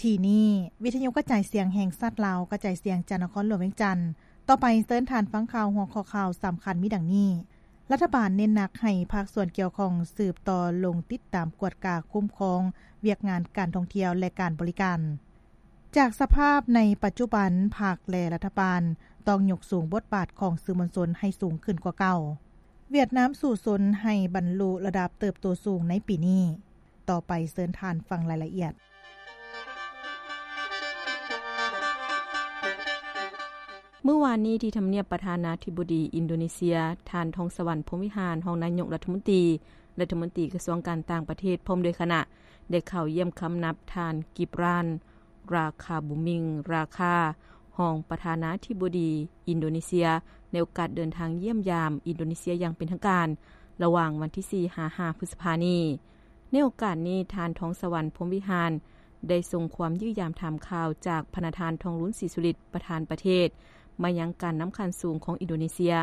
ທີ່ນີ້ ວິທະຍຸກະຈາຍສຽງແຫ່ງຊາດລາວ ກະຈາຍສຽງຈາກນະຄອນຫຼວງວຽງຈັນ. ຕໍ່ໄປເຊີນທ່ານຟັງຂ່າວ ຫົວຂໍ້ຂ່າວສຳຄັນມີດັ່ງນີ້: ລັດຖະບານເນັ້ນໜັກໃຫ້ພາກສ່ວນກ່ຽວຂ້ອງສືບຕໍ່ລົງຕິດຕາມກວດກາຄຸ້ມຄອງວຽກງານການທ່ອງທ່ຽວ ແລະ ການບໍລິການ. ຈາກສະພາບໃນປັດຈຸບັນ, ພັກ ແລະ ລັດຖະບານຕ້ອງຍົກສູງບົດບາດຂອງສື່ມວນຊົນໃຫ້ສູງຂຶ້ນກວ່າເກົ່າ. ຫວຽດນາມສູ້ຊົນໃຫ້ບັນລຸລະດັບເຕີບໂຕສູງໃນປີນີ້. ຕໍ່ໄປເຊີນທ່ານຟັງລາຍລະອຽດ. ມື້ວານນີ້ທີ່ທຳນຽບປະທານາທິບໍດີອິນໂດເນເຊຍ, ທ່ານ ທອງສະຫວັນ ພົມວິຫານ ຮອງນາຍົກລັດຖະມົນຕີ ລັດຖະມົນຕີກະຊວງການຕ່າງປະເທດ ພ້ອມດ້ວຍຄະນະ ໄດ້ເຂົ້າຢ້ຽມຄຳນັບທ່ານ ກິບຣານ ຣາຄາບູມິງ ຣາຄາ ຮອງປະທານາທິບໍດີອິນໂດເນເຊຍ ໃນໂອກາດເດີນທາງຢ້ຽມຢາມອິນໂດເນເຊຍຢ່າງເປັນທາງການ ລະຫວ່າງວັນທີສີ່ ຫາ ຫ້າ ພຶດສະພານີ້. ໃນໂອກາດນີ້ ທ່ານ ທອງສະຫວັນ ພົມວິຫານ ໄດ້ສົ່ງຄວາມຢ້ຽມຢາມຖາມຂ່າວຈາກພະນະທ່ານ ທອງລຸນ ສີສຸລິດ ປະທານປະເທດ ມາຍັງການນຳຂັ້ນສູງຂອງອິນໂດເນເຊຍ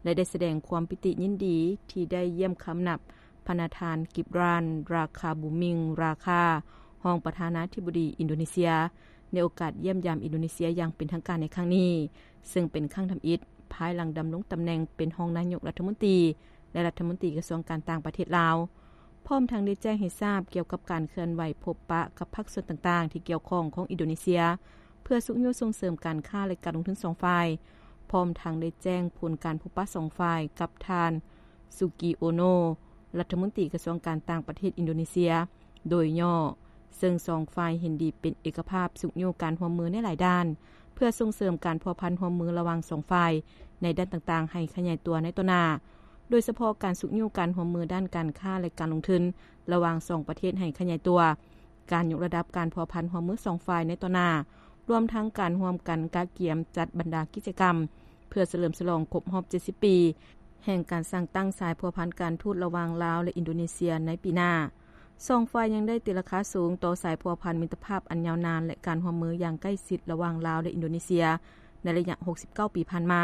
ແລະ ໄດ້ສະແດງຄວາມປີຕິຍິນດີທີ່ໄດ້ຢ້ຽມຄຳນັບພະນະທ່ານ ກິບຣານ ຣາຄາບູມິງ ຣາຄາ ຮອງປະທານາທິບໍດີອິນໂດເນເຊຍ ໃນໂອກາດຢ້ຽມຢາມອິນໂດເນເຊຍຢ່າງເປັນທາງການໃນຄັ້ງນີ້, ເຊິ່ງເປັນຄັ້ງທຳອິດພາຍຫຼັງດຳລົງຕຳແໜ່ງເປັນຮອງນາຍົກລັດຖະມົນຕີ ແລະ ລັດຖະມົນຕີກະຊວງການຕ່າງປະເທດລາວ, ພ້ອມທັງໄດ້ແຈ້ງໃຫ້ຊາບກ່ຽວກັບການເຄື່ອນໄຫວພົບປະກັບພາກສ່ວນຕ່າງໆທີ່ກ່ຽວຂ້ອງຂອງອິນໂດເນເຊຍ ເພື່ອຊຸກຍູ້ສົ່ງເສີມການຄ້າ ແລະ ການລົງທຶນສອງຝ່າຍ, ພ້ອມທັງໄດ້ແຈ້ງຜົນການພົບປະສອງຝ່າຍກັບທ່ານ ສຸກີ ໂອໂນ ລັດຖະມົນຕີກະຊວງການຕ່າງປະເທດອິນໂດເນເຊຍ ໂດຍຫຍໍ້, ເຊິ່ງສອງຝ່າຍເຫັນດີເປັນເອກະພາບຊຸກຍູ້ການຮ່ວມມືໃນຫຼາຍດ້ານ ເພື່ອສົ່ງເສີມການພົວພັນຮ່ວມມືລະຫວ່າງສອງຝ່າຍໃນດ້ານຕ່າງໆໃຫ້ຂະຫຍາຍຕົວໃນຕໍ່ໜ້າ, ໂດຍສະເພາະການຊຸກຍູ້ການຮ່ວມມືດ້ານການຄ້າ ແລະ ການລົງທຶນລະຫວ່າງສອງປະເທດໃຫ້ຂະຫຍາຍຕົວ, ການຍົກລະດັບການພົວພັນຮ່ວມມືສອງຝ່າຍໃນຕໍ່ໜ້າ, ລວມທັງການຮ່ວມກັນກະກຽມຈັດບັນດາກິດຈະກຳ ເພື່ອສະເຫຼີມສະຫຼອງຄົບຮອບເຈັດສິບປີ ແຫ່ງການສ້າງຕັ້ງສາຍພົວພັນການທູດລະຫວ່າງລາວ ແລະ ອິນໂດເນເຊຍໃນປີໜ້າ. ສອງຝ່າຍຍັງໄດ້ຕີລາຄາສູງຕໍ່ສາຍພົວພັນມິດຕະພາບອັນຍາວນານ ແລະ ການຮ່ວມມືຢ່າງໃກ້ຊິດລະຫວ່າງລາວ ແລະ ອິນໂດເນເຊຍ ໃນໄລຍະຫົກສິບເກົ້າປີຜ່ານມາ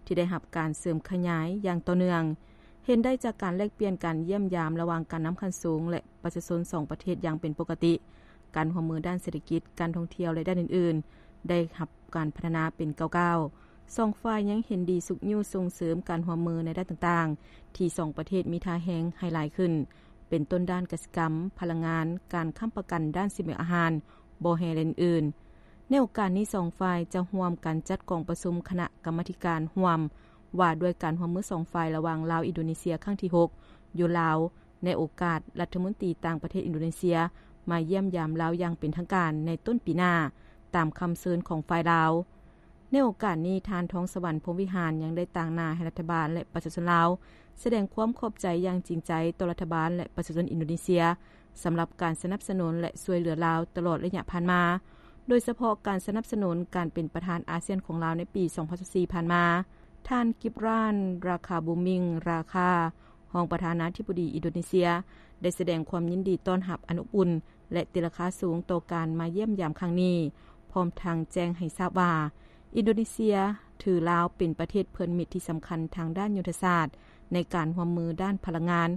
ທີ່ໄດ້ຮັບການເສີມຂະຫຍາຍຢ່າງຕໍ່ເນື່ອງ. ເຫັນໄດ້ຈາກການແລກປ່ຽນການຢ້ຽມຢາມລະຫວ່າງການນຳຂັ້ນສູງ ແລະ ປະຊາຊົນສອງປະເທດຢ່າງເປັນປົກກະຕິ, ການຮ່ວມມືດ້ານເສດຖະກິດ, ການທ່ອງທ່ຽວ ແລະ ດ້ານອື່ນໆ ໄດ້ຮັບການພັດທະນາເປັນກ້າວໆ. ສອງຝ່າຍຍັງເຫັນດີຊຸກຍູ້ສົ່ງເສີມການຮ່ວມມືໃນດ້ານຕ່າງໆ ທີ່ສອງປະເທດມີທ່າແຮງໃຫ້ຫຼາຍຂຶ້ນ, ເປັນຕົ້ນດ້ານກະສິກຳ, ພະລັງງານ, ການຄ້ຳປະກັນດ້ານສີບຽງອາຫານ, ບໍ່ແຮ່ ແລະ ອື່ນໆ. ໃນໂອກາດນີ້ ສອງຝ່າຍຈະຮ່ວມກັນຈັດກອງປະຊຸມຄະນະກຳມາທິການຮ່ວມວ່າດ້ວຍການຮ່ວມມືສອງຝ່າຍລະຫວ່າງລາວ-ອິນໂດເນເຊຍຄັ້ງທີຫົກ ຢູ່ລາວ ໃນໂອກາດລັດຖະມົນຕີຕ່າງປະເທດອິນໂດເນເຊຍມາຢ້ຽມຢາມລາວຢ່າງເປັນທາງການໃນຕົ້ນປີໜ້າ ຕາມຄຳເຊີນຂອງຝ່າຍລາວ. ໃນໂອກາດນີ້ ທ່ານ ທອງສະຫວັນ ພົມວິຫານ ຍັງໄດ້ຕາງໜ້າໃຫ້ລັດຖະບານ ແລະ ປະຊາຊົນລາວ ສະແດງຄວາມຂອບໃຈຢ່າງຈິງໃຈຕໍ່ລັດຖະບານ ແລະ ປະຊາຊົນອິນໂດເນເຊຍ ສຳລັບການສະໜັບສະໜູນ ແລະ ຊ່ວຍເຫຼືອລາວຕະຫຼອດໄລຍະຜ່ານມາ, ໂດຍສະເພາະການສະໜັບສະໜູນການເປັນປະທານອາຊຽນຂອງລາວໃນປີສອງພັນຊາວສີ່ຜ່ານມາ. ທ່ານ ກິບຣານ ຣາຄາບູມິງ ຣາຄາ ຮອງປະທານາທິບໍດີອິນໂດເນເຊຍ ໄດ້ສະແດງຄວາມຍິນດີຕ້ອນຮັບອັນອົບອຸ່ນ ແລະ ຕີລາຄາສູງຕໍ່ການມາຢ້ຽມຢາມຄັ້ງນີ້, ພ້ອມທັງແຈ້ງໃຫ້ຊາບວ່າ ອິນໂດເນເຊຍຖືລາວເປັນປະເທດເພື່ອນມິດທີ່ສຳຄັນທາງດ້ານຍຸດທະສາດ ໃນການຮ່ວມມືດ້ານພະລັງງານ,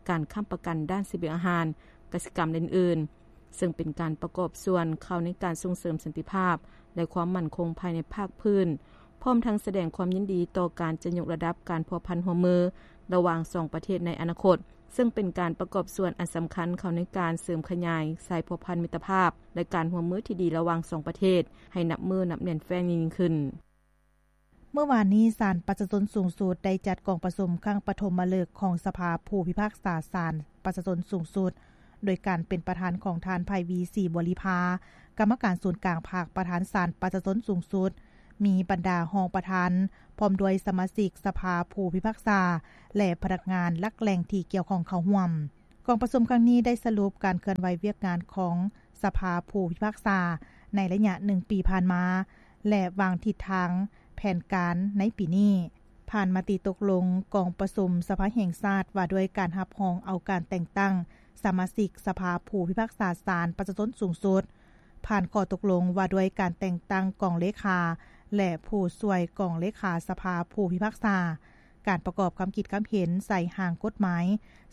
ການຄ້ຳປະກັນດ້ານສີບຽງອາຫານ, ກະສິກຳ ແລະ ອື່ນໆ, ເຊິ່ງເປັນການປະກອບສ່ວນເຂົ້າໃນການສົ່ງເສີມສັນຕິພາບ ແລະ ຄວາມໝັ້ນຄົງພາຍໃນພາກພື້ນ, ພ້ອມທັງສະແດງຄວາມຍິນດີຕໍ່ການຈະຍົກລະດັບການພົວພັນຮ່ວມມືລະຫວ່າງສອງປະເທດໃນອະນາຄົດ, ເຊິ່ງເປັນການປະກອບສ່ວນອັນສຳຄັນເຂົ້າໃນການເສີມຂະຫຍາຍສາຍພົວພັນມິດຕະພາບ ແລະ ການຮ່ວມມືທີ່ດີລະຫວ່າງສອງປະເທດ ໃຫ້ນັບມື້ນັບແໜ້ນແຟ້ນຍິ່ງຂຶ້ນ. ເມື່ອວານນີ້ ສານປະຊາຊົນສູງສຸດໄດ້ຈັດກອງປະຊຸມຄັ້ງປະຖົມມະເລິກຂອງສະພາຜູ້ພິພາກສາສານປະຊາຊົນສູງສຸດ ໂດຍການເປັນປະທານຂອງທ່ານ ໄພວີ ສີບໍລິພາ ກຳມະການສູນກາງພັກ ປະທານສານປະຊາຊົນສູງສຸດ, ມີບັນດາຮອງປະທານ ພ້ອມດ້ວຍສະມາຊິກສະພາຜູ້ພິພາກສາ ແລະ ພະນັກງານຫຼັກແຫຼ່ງທີ່ກ່ຽວຂ້ອງເຂົ້າຮ່ວມ. ກອງປະຊຸມຄັ້ງນີ້ໄດ້ສະຫຼຸບການເຄື່ອນໄຫວວຽກງານຂອງສະພາຜູ້ພິພາກສາໃນໄລຍະໜຶ່ງປີຜ່ານມາ ແລະ ວາງທິດທາງແຜນການໃນປີນີ້. ຜ່ານມະຕິຕົກລົງກອງປະຊຸມສະພາແຫ່ງຊາດວ່າດ້ວຍການຮັບຮອງເອົາການແຕ່ງຕັ້ງສະມາຊິກສະພາຜູ້ພິພາກສາສານປະຊາຊົນສູງສຸດ, ຜ່ານຂໍ້ຕົກລົງວ່າດ້ວຍການແຕ່ງຕັ້ງກອງເລຂາ ແລະ ຜູ້ຊ່ວຍກອງເລຂາສະພາຜູ້ພິພາກສາ, ການປະກອບຄຳຄິດຄຳເຫັນໃສ່ຮ່າງກົດໝາຍ,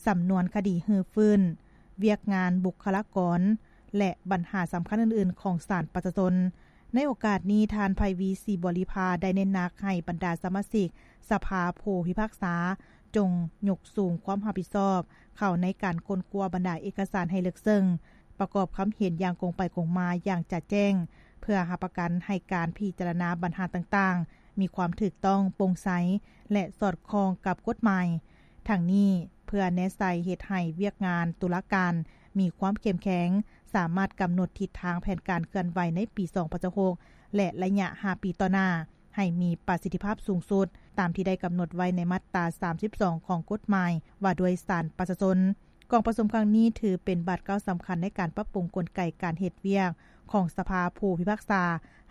ສຳນວນຄະດີຮື້ຟື້ນ, ວຽກງານບຸກຄະລາກອນ, ແລະ ບັນຫາສຳຄັນອື່ນໆຂອງສານປະຊາຊົນ. ໃນໂອກາດນີ້, ທ່ານ ໄພວີ ສີບໍລິພາ ໄດ້ເນັ້ນໜັກໃຫ້ບັນດາສະມາຊິກສະພາຜູ້ພິພາກສາ ຈົ່ງຍົກສູງຄວາມຮັບຜິດຊອບເຂົ້າໃນການຄົ້ນຄວ້າບັນດາເອກະສານໃຫ້ເລິກເຊິ່ງ, ປະກອບຄຳເຫັນຢ່າງກົງໄປກົງມາຢ່າງຈະແຈ້ງ ເພື່ອຮັບປະກັນໃຫ້ການພິຈາລະນາບັນຫາຕ່າງໆ ມີຄວາມຖືກຕ້ອງ, ໂປ່ງໃສ ແລະ ສອດຄ່ອງກັບກົດໝາຍ. ທັງນີ້ເພື່ອແນໃສ່ເຮັດໃຫ້ວຽກງານຕຸລາການມີຄວາມເຂັ້ມແຂງ, ສາມາດກຳນົດທິດທາງແຜນການເຄື່ອນໄຫວໃນປີສອງພັນຊາວຫົກ ແລະ ໄລຍະຫ້າປີຕໍ່ໜ້າ ໃຫ້ມີປະສິດທິພາບສູງສຸດ, ຕາມທີ່ໄດ້ກຳນົດໄວ້ໃນມາດຕາສາມສິບສອງຂອງກົດໝາຍວ່າດ້ວຍສານປະຊາຊົນ. ກອງປະຊຸມຄັ້ງນີ້ຖືເປັນບາດກ້າວສຳຄັນໃນການປັບປຸງກົນໄກການເຮັດວຽກຂອງສະພາຜູ້ພິພາກສາ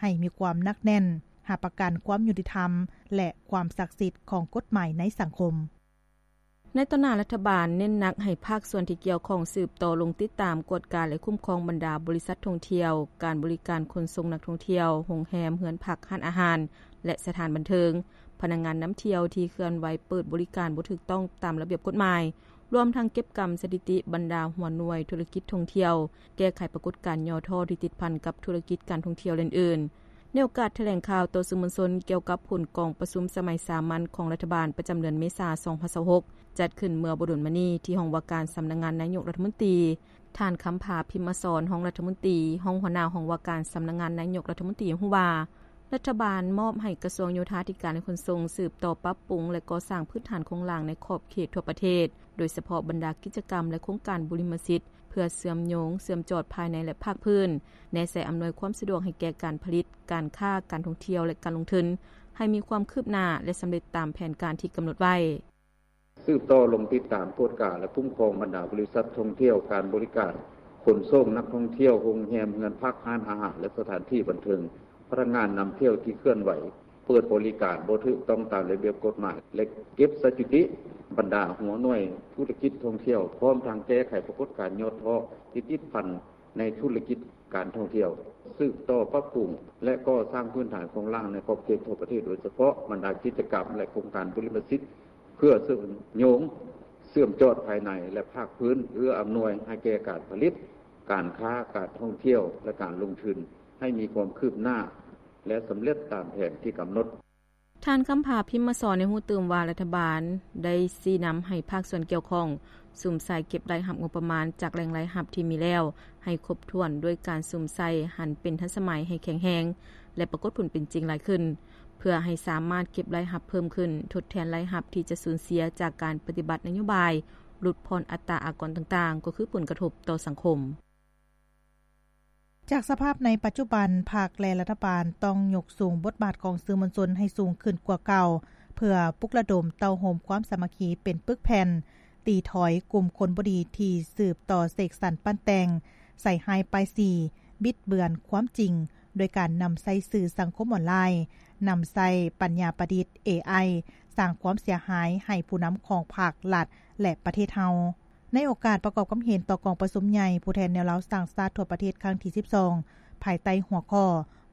ໃຫ້ມີຄວາມໜັກແໜ້ນ, ຮັບປະກັນຄວາມຍຸຕິທຳ ແລະ ຄວາມສັກສິດຂອງກົດໝາຍໃນສັງຄົມ. ໃນຕໍ່ໜ້າ, ລັດຖະບານເນັ້ນໜັກໃຫ້ພາກສ່ວນທີ່ກ່ຽວຂ້ອງສືບຕໍ່ລົງຕິດຕາມ, ກວດກາ ແລະ ຄຸ້ມຄອງບັນດາບໍລິສັດທ່ອງທ່ຽວ, ການບໍລິການຂົນສົ່ງນັກທ່ອງທ່ຽວ, ໂຮງແຮມ, ເຮືອນພັກ, ຮ້ານອາຫານ ແລະ ສະຖານບັນເທີງ, ພະນັກງານນຳທ່ຽວທີ່ເຄື່ອນໄຫວເປີດບໍລິການບໍ່ຖືກຕ້ອງຕາມລະບຽບກົດໝາຍ, ລວມທັງເກັບກຳສະຖິຕິບັນດາຫົວໜ່ວຍທຸລະກິດທ່ອງທ່ຽວ, ແກ້ໄຂປາກົດການຫຍໍ້ທໍ້ທີ່ຕິດພັນກັບທຸລະກິດການທ່ອງທ່ຽວ ແລະ ອື່ນໆ. ໃນໂອກາດຖະແຫຼງຂ່າວຕໍ່ສື່ມວນຊົນກ່ຽວກັບຜົນກອງປະຊຸມສະໄໝສາມັນຂອງລັດຖະບານປະຈຳເດືອນເມສາ ສອງພັນຊາວຫົກ ຈັດຂຶ້ນເມື່ອບໍ່ດົນມານີ້ທີ່ຫ້ອງວ່າການສຳນັກງານນາຍົກລັດຖະມົນຕີ, ທ່ານ ຄຳຜາ ພິມມະສອນ ຮອງລັດຖະມົນຕີ, ຮອງຫົວໜ້າຫ້ອງວ່າການສຳນັກງານນາຍົກລັດຖະມົນຕີ ຮູ້ວ່າ ລັດຖະບານມອບໃຫ້ກະຊວງໂຍທາທິການ ແລະ ຂົນສົ່ງ ສືບຕໍ່ປັບປຸງ ແລະ ກໍ່ສ້າງພື້ນຖານໂຄງລ່າງໃນຂອບເຂດທົ່ວປະເທດ, ໂດຍສະເພາະບັນດາກິດຈະກຳ ແລະ ໂຄງການບຸລິມະສິດ ເພື່ອເຊື່ອມໂຍງ, ເຊື່ອມຈອດພາຍໃນ ແລະ ພາກພື້ນ, ແນໃສ່ອຳນວຍຄວາມສະດວກໃຫ້ແກ່ການຜະລິດ, ການຄ້າ, ການທ່ອງທ່ຽວ ແລະ ການລົງທຶນ ໃຫ້ມີຄວາມຄືບໜ້າ ແລະ ສຳເລັດຕາມແຜນການທີ່ກຳນົດໄວ້. ສືບຕໍ່ລົງຕິດຕາມ, ກວດກາ ແລະ ຄຸ້ມຄອງບັນດາບໍລິສັດທ່ອງທ່ຽວ, ການບໍລິການຂົນສົ່ງນັກທ່ອງທ່ຽວ, ໂຮງແຮມ, ເຮືອນພັກ, ຮ້ານອາຫານ ແລະ ສະຖານທີ່ບັນເທີງ, ພະນັກງານນຳທ່ຽວທີ່ເຄື່ອນໄຫວເປີດບໍລິການບໍ່ຖືກຕ້ອງຕາມລະບຽບກົດໝາຍ ແລະ ເກັບສະຖິຕິບັນດາຫົວໜ່ວຍທຸລະກິດທ່ອງທ່ຽວ, ພ້ອມທັງແກ້ໄຂປາກົດການຫຍໍ້ທໍ້ທີ່ຕິດພັນໃນທຸລະກິດການທ່ອງທ່ຽວ, ສືບຕໍ່ປັບປຸງ ແລະ ກໍ່ສ້າງພື້ນຖານໂຄງລ່າງໃນຂອບເຂດທົ່ວປະເທດ, ໂດຍສະເພາະບັນດາກິດຈະກຳ ແລະ ໂຄງການບຸລິມະສິດ ເພື່ອເຊື່ອມໂຍງ, ເຊື່ອມຈອດພາຍໃນ ແລະ ພາກພື້ນ, ເອື້ອອຳນວຍໃຫ້ແກ່ການຜະລິດ, ການຄ້າ, ການທ່ອງທ່ຽວ ແລະ ການລົງທຶນ ໃຫ້ມີຄວາມຄືບໜ້າ ແລະ ສຳເລັດຕາມແຜນທີ່ກຳນົດ. ທ່ານ ຄຳຜາ ພິມມະສອນ ໃຫ້ຮູ້ຕື່ມວ່າ ລັດຖະບານໄດ້ຊີ້ນຳໃຫ້ພາກສ່ວນກ່ຽວຂ້ອງ ສຸມໃສ່ເກັບລາຍຮັບງົບປະມານຈາກແຫຼ່ງລາຍຮັບທີ່ມີແລ້ວໃຫ້ຄົບຖ້ວນ ດ້ວຍການສຸມໃສ່ຫັນເປັນທັນສະໄໝ, ໃຫ້ແຂງແຮງ ແລະ ປາກົດຜົນເປັນຈິງຫຼາຍຂຶ້ນ, ເພື່ອໃຫ້ສາມາດເກັບລາຍຮັບເພີ່ມຂຶ້ນ ທົດແທນລາຍຮັບທີ່ຈະສູນເສຍຈາກການປະຕິບັດນະໂຍບາຍຫຼຸດຜ່ອນອັດຕາອາກອນຕ່າງໆ, ກໍຄືຜົນກະທົບຕໍ່ສັງຄົມ. ຈາກສະພາບໃນປັດຈຸບັນ, ພັກ ແລະ ລັດຖະບານຕ້ອງຍົກສູງບົດບາດຂອງສື່ມວນຊົນໃຫ້ສູງຂຶ້ນກວ່າເກົ່າ, ເພື່ອປຸກລະດົມເຕົ້າໂຮມຄວາມສາມັກຄີເປັນປຶກແຜ່ນ, ຕີຖອຍກຸ່ມຄົນບໍ່ດີທີ່ສືບຕໍ່ເສກສັນປັ້ນແຕ່ງ, ໃສ່ຮ້າຍປ້າຍສີ, ບິດເບືອນຄວາມຈິງ, ໂດຍການນຳໃຊ້ສື່ສັງຄົມອອນລາຍ, ນຳໃຊ້ປັນຍາປະດິດ ເອໄອ ສ້າງຄວາມເສຍຫາຍໃຫ້ຜູ້ນຳຂອງພັກ, ລັດ ແລະ ປະເທດເຮົາ. ໃນໂອກາດປະກອບຄຳເຫັນຕໍ່ກອງປະຊຸມໃຫຍ່ຜູ້ແທນແນວລາວສ້າງຊາດທົ່ວປະເທດຄັ້ງທີສິບສອງ ພາຍໃຕ້ຫົວຂໍ້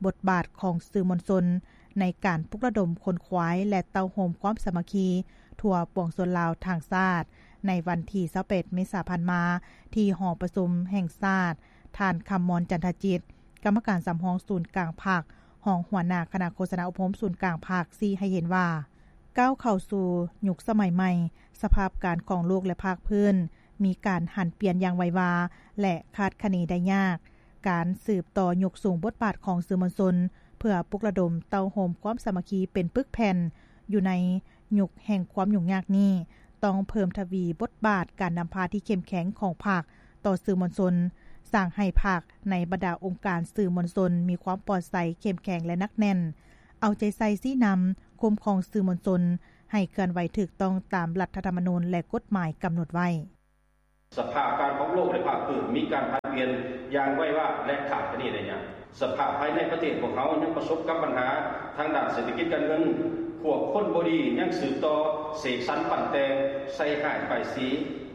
ບົດບາດຂອງສື່ມວນຊົນໃນການປຸກລະດົມຂົນຂວາຍ ແລະ ເຕົ້າໂຮມຄວາມສາມັກຄີທົ່ວປວງຊົນລາວທັງຊາດ ໃນວັນທີຊາວແປດ ເມສາຜ່ານມາ ທີ່ຫໍປະຊຸມແຫ່ງຊາດ, ທ່ານ ຄຳມອນ ຈັນທະຈິດ, ກຳມະການສຳຮອງສູນກາງພັກ, ຮອງຫົວໜ້າຄະນະໂຄສະນາອົບຮົມສູນກາງພັກ ຊີ້ໃຫ້ເຫັນວ່າ ກ້າວເຂົ້າສູ່ຍຸກສະໄໝໃໝ່, ສະພາບການຂອງໂລກ ແລະ ພາກພື້ນ ມີການຫັນປ່ຽນຢ່າງໄວວາ ແລະ ຄາດຄະເນໄດ້ຍາກ. ການສືບຕໍ່ຍົກສູງບົດບາດຂອງສື່ມວນຊົນ ເພື່ອປຸກລະດົມເຕົ້າໂຮມຄວາມສາມັກຄີເປັນປຶກແຜ່ນ ຢູ່ໃນຍຸກແຫ່ງຄວາມຫຍຸ້ງຍາກນີ້, ຕ້ອງເພີ່ມທະວີບົດບາດການນຳພາທີ່ເຂັ້ມແຂງຂອງພັກຕໍ່ສື່ມວນຊົນ, ສ້າງໃຫ້ພັກໃນບັນດາອົງການສື່ມວນຊົນມີຄວາມປອດໃສ, ເຂັ້ມແຂງ ແລະ ໜັກແໜ້ນ, ເອົາໃຈໃສ່ຊີ້ນຳ, ຄຸ້ມຄອງສື່ມວນຊົນ ໃຫ້ເຄື່ອນໄຫວຖືກຕ້ອງຕາມລັດຖະທຳມະນູນ ແລະ ກົດໝາຍກຳນົດໄວ້. ສະພາບການຂອງໂລກ ແລະ ພາກພື້ນມີການຜັນປ່ຽນຢ່າງໄວວາ ແລະ ຄາດຄະເນໄດ້ຍາກ. ສະພາບພາຍໃນປະເທດພວກເຮົາຍັງປະສົບກັບບັນຫາທາງດ້ານເສດຖະກິດການເງິນ, ພວກຄົນບໍ່ດີຍັງສືບຕໍ່ເສກສັນປັ້ນແຕ່ງ, ໃສ່ຮ້າຍປ້າຍສີ,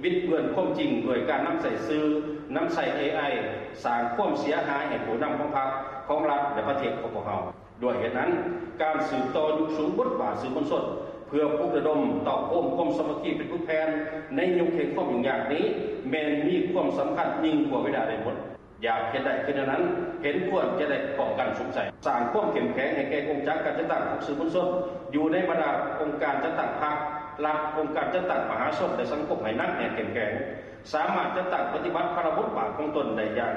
ບິດເບືອນຄວາມຈິງດ້ວຍການນຳໃຊ້ສື່, ນຳໃຊ້ເອໄອ, ສ້າງຄວາມເສຍຫາຍໃຫ້ຜູ້ນຳຂອງພັກ, ຂອງລັດ ແລະ ປະເທດຂອງພວກເຮົາ. ດ້ວຍເຫດນັ້ນ, ການສືບຕໍ່ຍົກສູງບົດບາດສື່ມວນຊົນ ເພື່ອປຸກລະດົມເຕົ້າໂຮມຄວາມສາມັກຄີເປັນປຶກແຜ່ນໃນຍຸກແຫ່ງຄວາມຫຍຸ້ງຍາກນີ້ ແມ່ນມີຄວາມສຳຄັນຍິ່ງກວ່າເວລາໃດໝົດ. ຢາກເຮັດໄດ້ຄືແນວນັ້ນ, ເຫັນຄວນຈະໄດ້ປ້ອງກັນສຸກໃສ, ສ້າງຄວາມເຂັ້ມແຂງໃຫ້ແກ່ກົງຈັກການຈັດຕັ້ງຂອງສື່ມວນຊົນ ຢູ່ໃນບັນດາອົງການຈັດຕັ້ງພັກ, ລັດ, ອົງການຈັດຕັ້ງມະຫາຊົນ ແລະ ສັງຄົມໃຫ້ໜັກແໜ້ນເຂັ້ມແຂງ, ສາມາດຈັດຕັ້ງປະຕິບັດພາລະບົດບາດຂອງຕົນໄດ້ຢ່າງ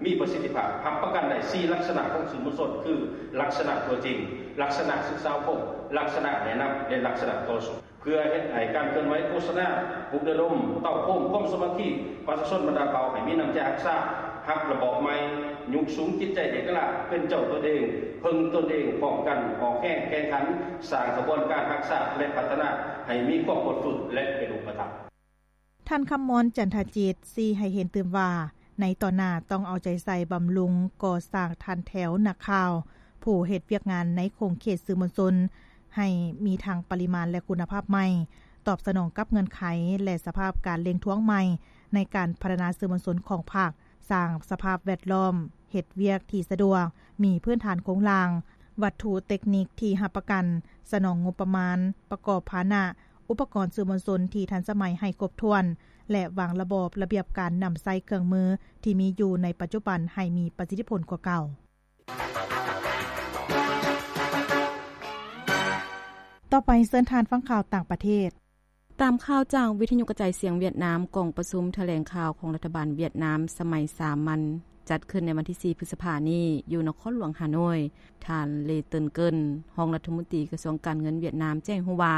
ມີປະສິດທິພາບ, ຮັບປະກັນໄດ້ສີ່ລັກສະນະຂອງສື່ມວນຊົນ ຄື ລັກສະນະຕົວຈິງ, ລັກສະນະສຶກສາອົບຮົມ, ລັກສະນະແນະນຳ ແລະ ລັກສະນະຕໍ່ສູ້. ເພື່ອເຮັດໃຫ້ການເຄື່ອນໄຫວໂຄສະນາ, ປຸກລະດົມ, ເຕົ້າໂຮມຄວາມສາມັກຄີປະຊາຊົນບັນດາເຜົ່າໃຫ້ມີນ້ຳໃຈຮັກຊາດ, ຮັບລະບອບໃໝ່, ຍົກສູງຈິດໃຈເອກະລາດ, ເປັນເຈົ້າຕົນເອງ, ເພິ່ງຕົນເອງ, ພ້ອມກັນອອກແຮງແຂ່ງຂັນ, ສ້າງຂະບວນການຮັກຊາດ ແລະ ພັດທະນາໃຫ້ມີຄວາມບົດຝຶກ ແລະ ເປັນຮູບປະທຳ. ທ່ານ ຄຳມອນ ຈັນທະຈິດ ຊີ້ໃຫ້ເຫັນຕື່ມວ່າ ໃນຕໍ່ໜ້າຕ້ອງເອົາໃຈໃສ່ບຳລຸງກໍ່ສ້າງຖັນແຖວນັກຂ່າວ ຜູ້ເຮັດວຽກງານໃນຂົງເຂດສື່ມວນຊົນ ໃຫ້ມີທັງປະລິມານ ແລະ ຄຸນນະພາບໃໝ່, ຕອບສະໜອງກັບເງື່ອນໄຂ ແລະ ສະພາບການເລັ່ງທວງໃໝ່ ໃນການພັດທະນາສື່ມວນຊົນຂອງພັກ, ສ້າງສະພາບແວດລ້ອມເຮັດວຽກທີ່ສະດວກ, ມີພື້ນຖານໂຄງລ່າງ, ວັດຖຸເຕັກນິກທີ່ຮັບປະກັນ, ສະໜອງງົບປະມານ, ປະກອບພາຫະນະ, ອຸປະກອນສື່ມວນຊົນທີ່ທັນສະໄໝໃຫ້ຄົບຖ້ວນ ແລະ ວາງລະບອບລະບຽບການນຳໃຊ້ເຄື່ອງມືທີ່ມີຢູ່ໃນປັດຈຸບັນໃຫ້ມີປະສິດທິຜົນກວ່າເກົ່າ. ຕໍ່ໄປເຊີນທ່ານຟັງຂ່າວຕ່າງປະເທດ. ຕາມຂ່າວຈາກວິທະຍຸກະຈາຍສຽງຫວຽດນາມ, ກອງປະຊຸມຖະແຫຼງຂ່າວຂອງລັດຖະບານຫວຽດນາມສະໄໝສາມັນ ຈັດຂຶ້ນໃນວັນທີສີ່ ພຶດສະພານີ້ ຢູ່ນະຄອນຫຼວງຮ່າໂນ້ຍ. ທ່ານ ເລ ເຕີນເກີນ ຮອງລັດຖະມົນຕີກະຊວງການເງິນຫວຽດນາມ ແຈ້ງໃຫ້ຮູ້ວ່າ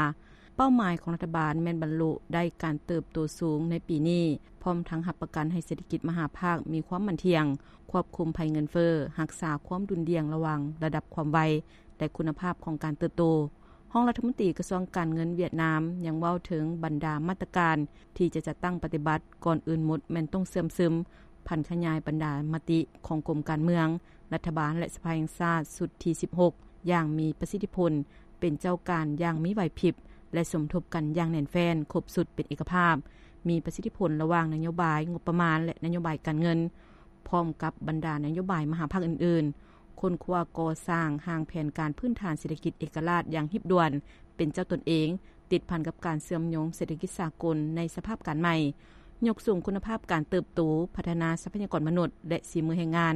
ເປົ້າໝາຍຂອງລັດຖະບານແມ່ນບັນລຸໄດ້ການເຕີບໂຕສູງໃນປີນີ້, ພ້ອມທັງຮັບປະກັນໃຫ້ເສດຖະກິດມະຫາພາກມີຄວາມໝັ້ນທ່ຽງ, ຄວບຄຸມໄພເງິນເຟີ້, ຮັກສາຄວາມດຸ່ນດ່ຽງລະຫວ່າງລະດັບຄວາມໄວ ແລະ ຄຸນນະພາບຂອງການເຕີບໂຕ. ຮອງລັດຖະມົນຕີກະຊວງການເງິນຫວຽດນາມຍັງເວົ້າເຖິງບັນດາມາດຕະການທີ່ຈະຈັດຕັ້ງປະຕິບັດ, ກ່ອນອື່ນໝົດແມ່ນຕ້ອງເຊື່ອມຊຶມ, ຜັນຂະຫຍາຍບັນດາມະຕິຂອງກົມການເມືອງ, ລັດຖະບານ ແລະ ສະພາແຫ່ງຊາດຊຸດທີສິບຫົກ ຢ່າງມີປະສິດທິຜົນ, ເປັນເຈົ້າການຢ່າງມີໄຫວພິບ ແລະ ສົມທົບກັນຢ່າງແໜ້ນແຟ້ນ, ຄົບຊຸດເປັນເອກະພາບ, ມີປະສິດທິຜົນລະຫວ່າງນະໂຍບາຍງົບປະມານ ແລະ ນະໂຍບາຍການເງິນ, ພ້ອມກັບບັນດານະໂຍບາຍມະຫາພາກອື່ນໆ, ຄົ້ນຄວ້າກໍ່ສ້າງຮ່າງແຜນການພື້ນຖານເສດຖະກິດເອກະລາດຢ່າງຮີບດ່ວນ, ເປັນເຈົ້າຕົນເອງ, ຕິດພັນກັບການເຊື່ອມໂຍງເສດຖະກິດສາກົນໃນສະພາບການໃໝ່, ຍົກສູງຄຸນນະພາບການເຕີບໂຕ, ພັດທະນາຊັບພະຍາກອນມະນຸດ ແລະ ສີມືແຮງງານ,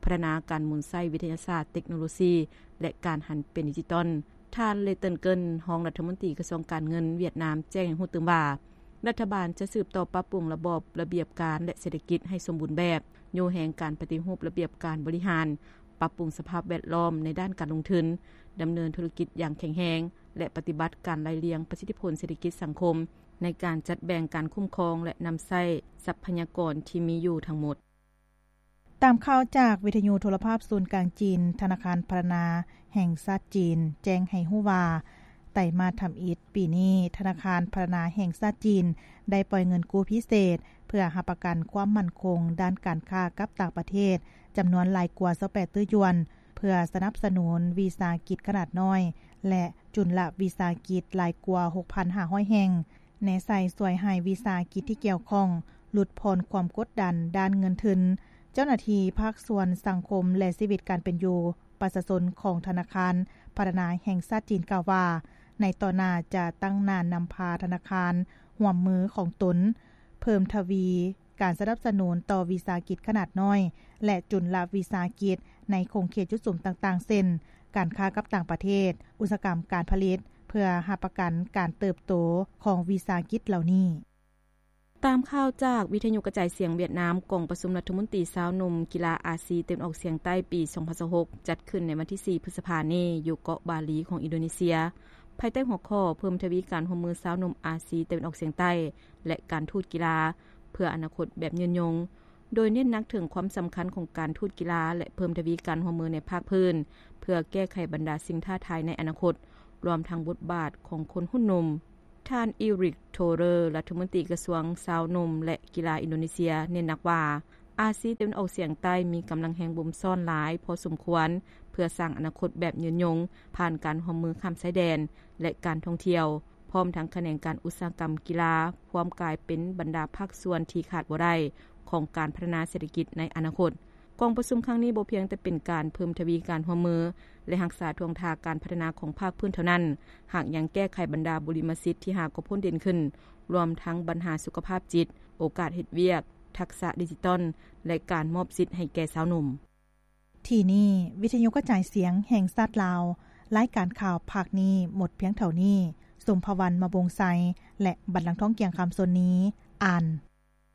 ພັດທະນາການໝູນໃຊ້ວິທະຍາສາດ, ເຕັກໂນໂລຊີ ແລະ ການຫັນເປັນດິຈິຕອນ. ທ່ານ ເລ ເຕີນເກີນ ຮອງລັດຖະມົນຕີກະຊວງການເງິນຫວຽດນາມ ແຈ້ງໃຫ້ຮູ້ຕື່ມວ່າ ລັດຖະບານຈະສືບຕໍ່ປັບປຸງລະບອບລະບຽບການ ແລະ ເສດຖະກິດໃຫ້ສົມບູນແບບ, ໂຍແຮງການປະຕິຮູບລະບຽບການບໍລິຫານ, ປັບປຸງສະພາບແວດລ້ອມໃນດ້ານການລົງທຶນ, ດຳເນີນທຸລະກິດຢ່າງແຂງແຮງ ແລະ ປະຕິບັດການໄລ່ລຽງປະສິດທິຜົນເສດຖະກິດສັງຄົມ ໃນການຈັດແບ່ງການຄຸ້ມຄອງ ແລະ ນຳໃຊ້ຊັບພະຍາກອນທີ່ມີຢູ່ທັງໝົດ. ຕາມຂ່າວຈາກວິທະຍຸໂທລະພາບສູນກາງຈີນ, ທະນາຄານພັດທະນາແຫ່ງຊາດຈີນ ແຈ້ງໃຫ້ຮູ້ວ່າ ໄຕມາດທຳອິດປີນີ້, ທະນາຄານພັດທະນາແຫ່ງຊາດຈີນ ໄດ້ປ່ອຍເງິນກູ້ພິເສດ ເພື່ອຮັບປະກັນຄວາມໝັ້ນຄົງດ້ານການຄ້າກັບຕ່າງປະເທດ ຈຳນວນຫຼາຍກວ່າຊາວແປດຕື້ຢວນ ເພື່ອສະໜັບສະໜູນວິສາຫະກິດຂະໜາດນ້ອຍ ແລະ ຈຸນລະວິສາຫະກິດຫຼາຍກວ່າຫົກພັນຫ້າຮ້ອຍແຫ່ງ, ແນໃສ່ຊ່ວຍໃຫ້ວິສາຫະກິດທີ່ກ່ຽວຂ້ອງຫຼຸດຜ່ອນຄວາມກົດດັນດ້ານເງິນທຶນ. ເຈົ້າໜ້າທີ່ພາກສ່ວນສັງຄົມ ແລະ ຊີວິດການເປັນຢູ່ປະຊາຊົນຂອງທະນາຄານພັດທະນາແຫ່ງຊາດຈີນກ່າວວ່າ ໃນຕໍ່ໜ້າຈະຕັ້ງໜ້ານຳພາທະນາຄານຮ່ວມມືຂອງຕົນ ເພີ່ມທະວີການສະໜັບສະໜູນຕໍ່ວິສາຫະກິດຂະໜາດນ້ອຍ ແລະ ຈຸນລະວິສາຫະກິດໃນຂົງເຂດຈຸດສຸມຕ່າງໆ ເຊັ່ນ ການຄ້າກັບຕ່າງປະເທດ, ອຸດສາຫະກຳການຜະລິດ ເພື່ອຮັບປະກັນການເຕີບໂຕຂອງວິສາຫະກິດເຫຼົ່ານີ້. ຕາມຂ່າວຈາກວິທະຍຸກະຈາຍສຽງຫວຽດນາມ, ກອງປະຊຸມລັດຖະມົນຕີຊາວໜຸ່ມກິລາອາຊີຕາເວັນອອກສຽງໃຕ້ປີສອງພັນຊາວຫົກ ຈັດຂຶ້ນໃນວັນທີສີ່ ພຶດສະພານີ້ ຢູ່ເກາະບາລີຂອງອິນໂດເນເຊຍ, ພາຍໃຕ້ຫົວຂໍ້ ເພີ່ມທະວີການຮ່ວມມືຊາວໜຸ່ມອາຊີຕາເວັນອອກສຽງໃຕ້ ແລະ ການທູດກິລາ ເພື່ອອະນາຄົດແບບຍືນຍົງ, ໂດຍເນັ້ນໜັກເຖິງຄວາມສຳຄັນຂອງການທູດກິລາ ແລະ ເພີ່ມທະວີການຮ່ວມມືໃນພາກພື້ນ ເພື່ອແກ້ໄຂບັນດາສິ່ງທ້າທາຍໃນອະນາຄົດ, ລວມທັງບົດບາດຂອງຄົນຮຸ່ນໜຸ່ມ. ທ່ານ ອີຣິກ ໂທເຣີ ລັດຖະມົນຕີກະຊວງຊາວໜຸ່ມ ແລະ ກິລາອິນໂດເນເຊຍ ເນັ້ນໜັກວ່າ ອາຊີຕາເວັນອອກສຽງໃຕ້ມີກຳລັງແຮງບົ່ມຊ້ອນຫຼາຍພໍສົມຄວນ ເພື່ອສ້າງອະນາຄົດແບບຍືນຍົງ ຜ່ານການຮ່ວມມືຂ້າມຊາຍແດນ ແລະ ການທ່ອງທ່ຽວ, ພ້ອມທັງຂະແໜງການອຸດສາຫະກຳກິລາ ພວມກາຍເປັນບັນດາພາກສ່ວນທີ່ຂາດບໍ່ໄດ້ຂອງການພັດທະນາເສດຖະກິດໃນອະນາຄົດ. ກອງປະຊຸມຄັ້ງນີ້ບໍ່ພຽງແຕ່ເປັນການເພີ່ມທະວີການຮ່ວມມື ແລະ ຮັກສາທ່ວງທ່າການພັດທະນາຂອງພາກພື້ນເທົ່ານັ້ນ, ຫາກຍັງແກ້ໄຂບັນດາບຸລິມະສິດທີ່ຫາກໍພົ້ນເດັ່ນຂຶ້ນ, ລວມທັງບັນຫາສຸຂະພາບຈິດ, ໂອກາດເຮັດວຽກ, ທັກສະດິຈິຕອນ ແລະ ການມອບສິດໃຫ້ແກ່ຊາວໜຸ່ມ. ທີ່ນີ້ ວິທຍຸກະຈາຍສຽງແຫ່ງຊາດລາວ, ລາຍການຂ່າວພາກນີ້ໝົດພຽງເທົ່ານີ້. ສົມພະວັນ ມະວົງໄຊ ແລະ ບັນລັງທອງ ກ່ຽງຄຳ ສ່ວນນີ້ ອ່ານ.